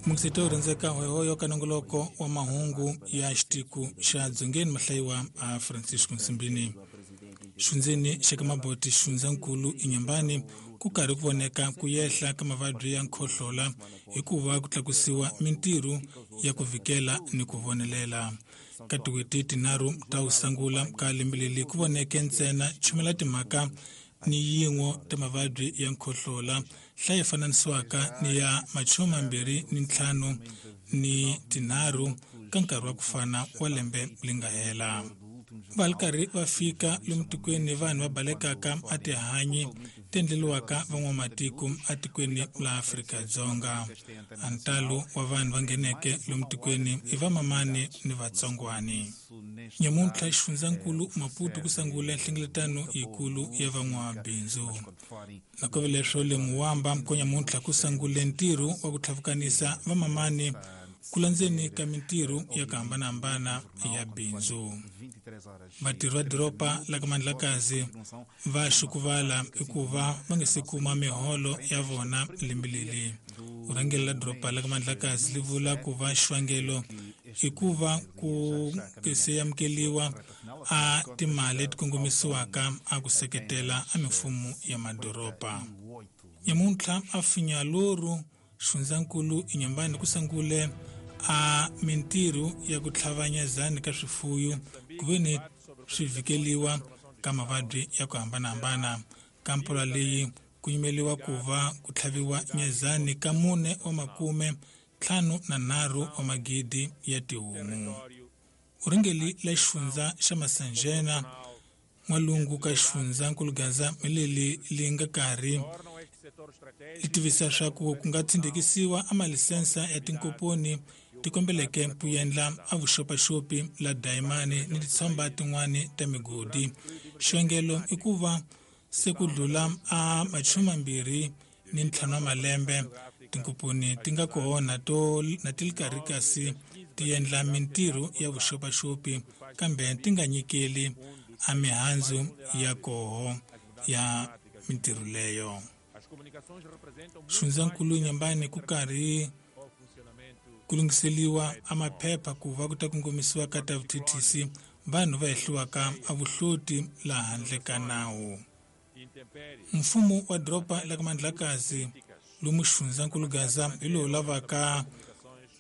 Mukisito rhandzeka hoyohoyo ka nongoloko wa mahungu ya xitiku xa Dzongeni mahlayiwa a Francisco Nsimbini. Xundzeni xa ka maboti xundzankulu eNyambani ku karhi ku voneka ku yehla ka mavabyi ya nkhohlola hikuva ku tlakusiwa mintirho ya ku vikela ni ku vonelela. Ka tin'hweti tinharhu ta ku sungula ka lembe leri ku voneke ntsena chumela timhaka ni yin'we ta mavabyi ya nkhohlola hlayi fananisiwaka ni ya 25 ni tinharhu ka nkarhi wa ku fana wa lembe leri nga hela. Va ri karhi va fika lomu tikweni vanhu va balekaka a tihanyi ti endleriwaka van'wamatiko etikweni la Afrika-Dzonga. A ntalo wa vanhu va ngheneke lomu tikweni i vamamani ni vatsongwani. Nyamuntlha xifundzankulu Maputo ku sungule nhlengeletano yikulu ya van'wabindzu. Nakove leswo le Muwamba ko nyamuntlha ku sungule ntirho wa ku tlhavukanisa vamamani ku landzeni ka mintirho ya ku hambanahambana ya bindzu. Vatirhi va doroba la ka Mandlakazi va xukuvala hikuva va nga se kuma miholo ya vona lembe leri. Vurhangeri la doroba la ka Mandlakazi li vula ku va xivangelo i ku va ku se amukeriwa a timali leti kongomisiwaka a ku seketela a mimfumo ya madoroba. Nyamuntlha a Finyaloru xifundzankulu eNyambani ku sungule a mintirho ya ku tlhavanyezani ka swifuyo ku ve ni swi vhikeliwa ka mavabyi ya ku hambanahambana. Ka mpfula leyi ku yimeliwa ku va ku tlhaviwa nyezani ka 4 wa 53 wa magidi ya tihomu. Vurhangeri la xifundza xa Masanjena n'walungu ka xifundza Nkulugaza leli li nga karhi li tivisa swa ku ku nga tshindekisiwa a malisensa ya tinkomponi ti kombeleke ku endla a vuxopaxopi la dayimani ni titshomba tin'wani ta migodi. Xivangelo i ku va se ku dlula a 25 wa malembe tinkomponi ti nga kona to na ti ri karhi kasi ti endla mintirho ya vuxopaxopi kambe ti nga nyikeli a mihandzu ya koho ya mintirho leyo. Xifundzankulu Nyambani ku karhi ku lunghiseliwa a maphepha ku va ku ta kongomisiwa ka ta vuthethisi vanhu va hehliwaka a vuhloti laha handle ka nawu. Mfumo wa doroba la ka Mandlakazi lomu xifundzankulu Gaza hi lowu lavaka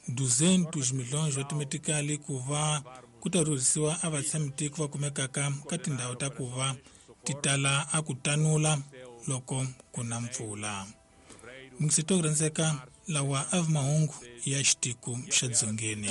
200 milhões wa timetikali ku va ku ta rhurhisiwa a vatshamitiko va kumekaka ka tindhawu ta ku va ti tala a ku tanula loko ku na mpfula. Mukisito rhandzeka lawa a vi mahungu ya xitiku xa Dzongeni.